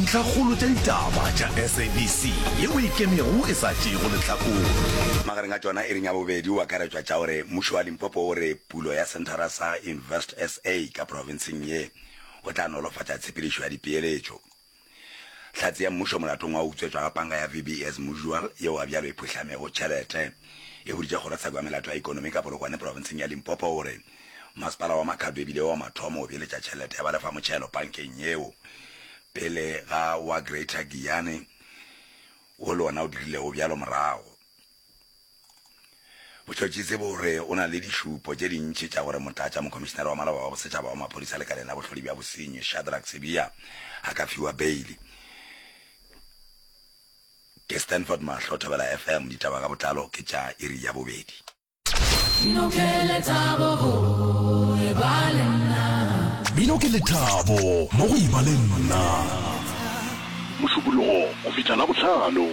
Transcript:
Ntlhakgolo tša ditaba tša SABC yeo e ikemego e sa tšeego lehlakore. Magareng a tšona iring ya bobedi o akaretšwa tša gore mmušo wa Limpopo o re pulo ya senthara sa Invest SA ka profenseng ye o tla nolofatša tshepedišo ya dipeeletšo. Hlatse ya mmušo molatong wa go utswetšwa ga panka ya VBS Mutual yeo ga bjalo e phuhlamego tšhelete e boditše kgorotsheko ya melato ya ikonomi ka Polokwane profenseng ya Limpopo gore Masepala wa Makhado e bile wa mathomo go beeletša tšhelete ya balefamotšhelo pankeng yeo pele ga wa Greater Giyani wo le wona o dirilego bjalo morago. Botšhotšhisi bo re o na le dišupo tše dintši tša gore motlatša mokhomišenare wa maloba wa bosetšhaba wa maphodisa lekaleng la bohlodi bja bosenyi Shadrack Sibiya a ka fiwa beili. Ke Stanford Mahlo, Thobela FM, ditaba ka botlalo ke tša iri ya bobedi. Mmino ke lethabo go eba le nna. Mmino ke lethabo mo go eba le nna. Mošupologo go fihla Labohlano.